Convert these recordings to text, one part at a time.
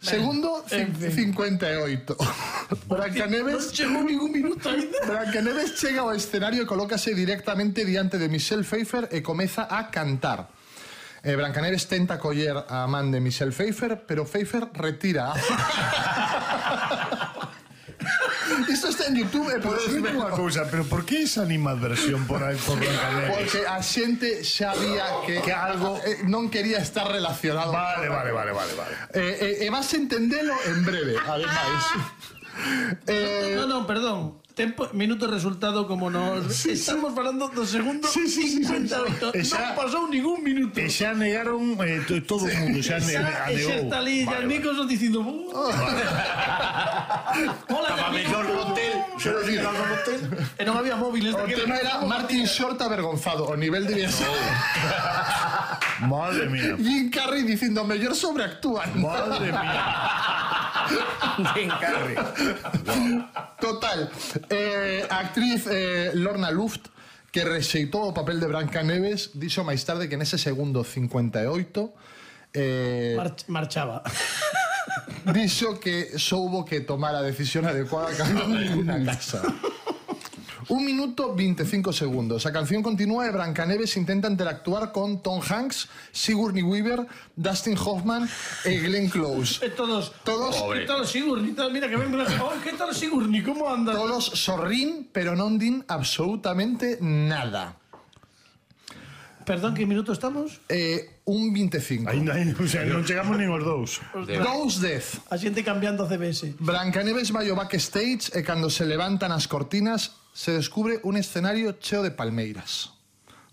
Segundo, 58. Brancaneves... Non chegou ningún minuto ainda. Brancaneves chega ao escenario e colócase directamente diante de Michelle Pfeiffer e comeza a cantar. Brancaneves tenta coller a man de Michelle Pfeiffer, pero Pfeiffer retira. Isto está en YouTube e podes ver unha cousa, pero por que esa animadversión por aí por Brancaneves? Porque a xente xa vía que algo non quería estar relacionado. Vale. E vas a entendelo en breve, ademais. Non, perdón. Tempo, minuto resultado como nos... Estamos falando do segundo 58. Non pasou ningún minuto. E xa negaron todo o mundo, xa negou. E xa está ali Jack Nicholson dicindo... Hola, Estaba mellor no hotel. E non había móviles. O tema era Martin Short avergonzado. O nivel de... Madre mía. Jim Carrey dicindo mellor sobreactúan. Madre mía. Jim Carrey. Total. A actriz Lorna Luft, que rexeitou o papel de Brancaneves, dixo máis tarde que nese segundo 58 marchaba. Dixo que soubo que tomar a decisión adecuada cando ninguna casa. 1 minuto 25 segundos. A canción continúa e Brancaneves intenta interactuar con Tom Hanks, Sigourney Weaver, Dustin Hoffman e Glenn Close. E todos Sigourney, mira que ven que tal Sigourney, como anda? Todos sorrín, pero non din absolutamente nada. Perdón, que minuto estamos? 1.25. O sea, non chegamos nin os dous. 2:10. A xente cambiando CBS. Brancaneves vai ao backstage e cando se levantan as cortinas se descubre un escenario cheo de palmeiras.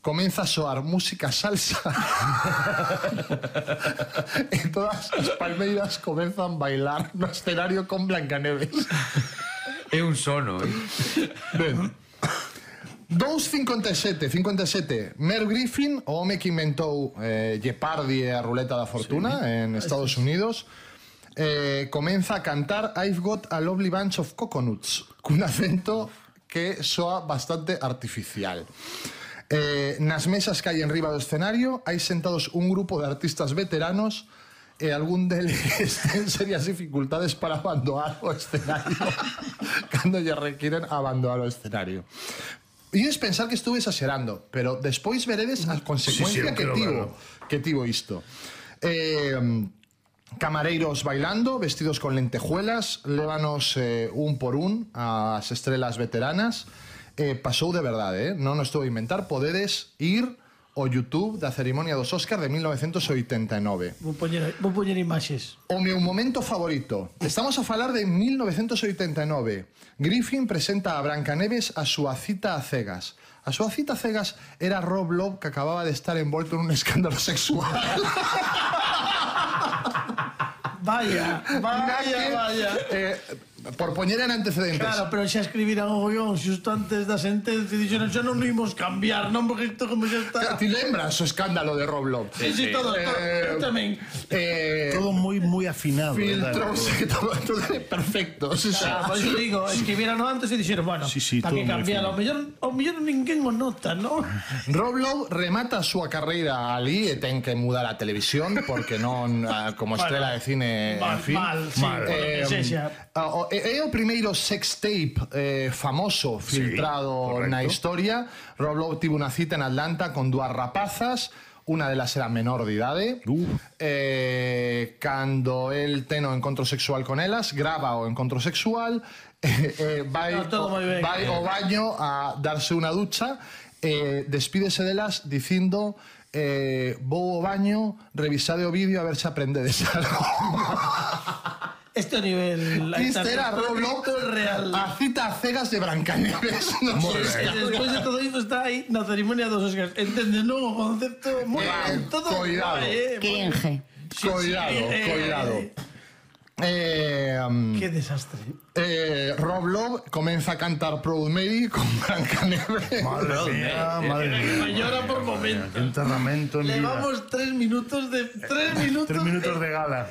Comeza a soar música salsa e todas as palmeiras comenzan a bailar no escenario con Brancaneves. É un sono, Ben. 2.57. Merv Griffin, o home que inventou Jeopardy e a ruleta da fortuna en Estados Unidos, comeza a cantar I've Got a Lovely Bunch of Coconuts cun acento que soa bastante artificial. Nas mesas que hai en riba do escenario hai sentados un grupo de artistas veteranos e algún deles ten serias dificultades para abandonar o escenario cando lle requieren abandonar o escenario. Ides pensar que estuve exagerando, pero despois veredes a consecuencia que tivo isto. Camareiros bailando, vestidos con lentejuelas, lévanos un por un as estrelas veteranas. Pasou de verdade, non estou a inventar. Podedes ir ao YouTube da cerimonia dos Óscar de 1989. Vou poñer imaxes. O meu momento favorito. Estamos a falar de 1989. Griffin presenta a Brancaneves a súa cita a cegas. A súa cita a cegas era Rob Lowe, que acababa de estar envolto nun escándalo sexual. Vaya. Por poñer en antecedentes. Claro, pero xa escribiran o guión xusto antes da sentencia e dixeron xa non imos cambiar, non, porque isto como xa está... Ti lembras o escándalo de Rob Lowe? Sí, todo, eu tamén. Todo moi afinado. Filtrouse, todo perfecto. Pois eu digo, escribiran antes e dixeron, bueno, para que cambiar, ao mellor ninguén o nota, non? Rob Lowe remata a súa carreira ali e ten que mudar a televisión porque non, como estrela de cine, en fin. Mal. É o primeiro sex tape famoso filtrado na historia. Rob Lowe tivo unha cita en Atlanta con dúas rapazas. Unha delas era menor de idade. Cando el ten o encontro sexual con elas, grava o encontro sexual, vai ao baño a darse unha ducha, despídese delas dicindo vou ao baño, revisade o vídeo a ver se aprendedes algo. Este nivel... Este era Rob Lowe, a cita a cegas de Brancaneves. Despois de todo isto está aí na cerimonia dos Óscars. Entendes, non? O concepto... Cuidado. Cringe. Cuidado. Qué desastre. Rob Lowe comeza a cantar Proud Mary con Brancaneves. Madre mía. Me llora por momentos. Enterramento en vida. Levamos 3 minutos de... 3 minutos de gala.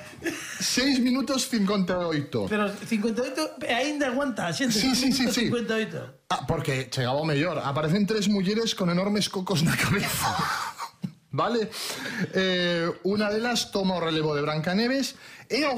6 minutos 58. Pero 58 aínda aguanta a xente. Sí. 58. Porque chegaba o mellor. Aparecen 3 mulleres con enormes cocos na cabeza. Vale? Unha delas toma o relevo de Brancaneves e ao